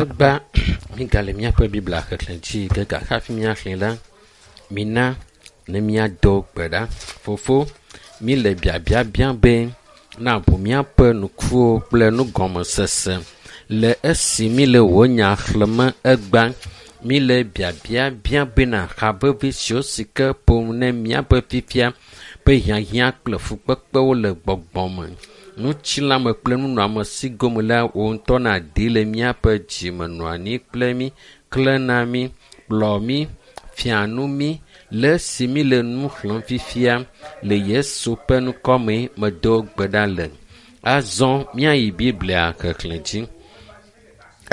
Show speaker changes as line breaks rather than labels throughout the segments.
Egbea mígale míaƒe Biblia xexlẽ dzi ge gake hafi míaxlẽe la, mina ne míado gbe ɖa. Fofo, míle biabia biam be nàʋu míaƒe ŋkuwo kple nugɔmesese le esi míle wò nya xlẽm egbea. Míle biabia biam bena ha vevi siwo si ke ƒom ne míaƒe fifia ƒe hiahiã kple fukpekpewo le gbɔgbɔ me, ŋutilãme kple nunɔamesi gome la, wò ŋutɔ nàdi le míaƒe dzime nɔ anyi kple mí, klẽ na mí, kplɔ mí, fia nu mí le esi míle nu xlẽm fifia le Yesu ƒe ŋkɔ me medo gbe ɖa le. Azɔ míayi Biblia xexlẽ dzi.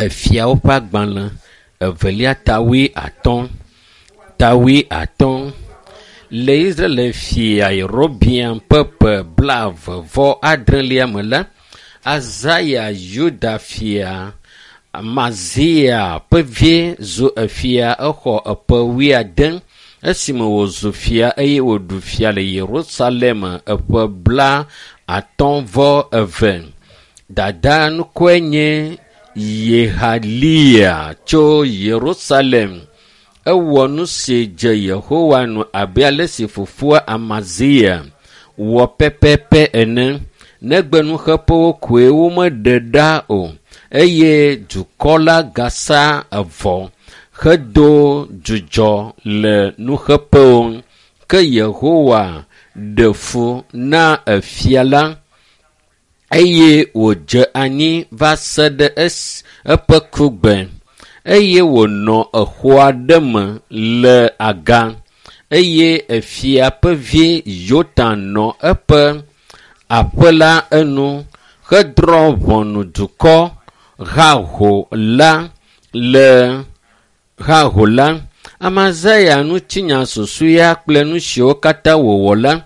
Efiawo ƒe agbalẽ evelia ta wuiatɔ̃ ta wuiatɔ̃. Le Israel fia Yerobeam ƒe ƒe blaeve vɔ adrelia me la, Azaya Yuda fia Amazia ƒe vie zu efia exɔ eƒe wuiade esime wòzu fia eye wòɖu fia le Yerusalem eƒe bla atɔ̃ vɔ eve. Dada ŋkɔe nye Yehalia tso Yerusalem. Ewɔ nu si dze Yehowa nu abe ale si fofoa Amazia wɔ pɛpɛpɛ ene. Negbe nuxeƒewo koe womeɖe ɖa o eye dukɔ la gasa evɔ hedo dzudzɔ le nuxeƒewo. Ke Yehowa ɖe fu na efia la eye wòdze anyi va se ɖe esi eƒe kugbe eye wònɔ exɔ aɖe me le aga eye efia ƒe vi Yotam nɔ eƒe aƒe la enu hedrɔ̃ ʋɔnu dukɔ haho la le haho la. Amazia ŋutinya susɔea kple nu siwo katã wòwɔ la,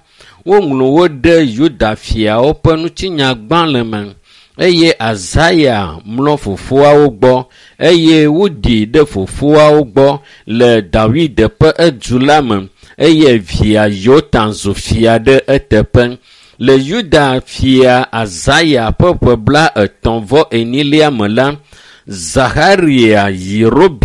woŋlɔ wo ɖe Yuda fiawo ƒe ŋutinyagbalẽ me. Eye Azaya mlɔ fofoawo gbɔ eye woɖii ɖe fofoawo gbɔ le Dawid ƒe edu la me eye via Yotam zu fia ɖe eteƒe. Le Yuda fia Azaya ƒe ƒe blaetɔ̃ vɔ enyilia me la, Zaxarya Yerobeam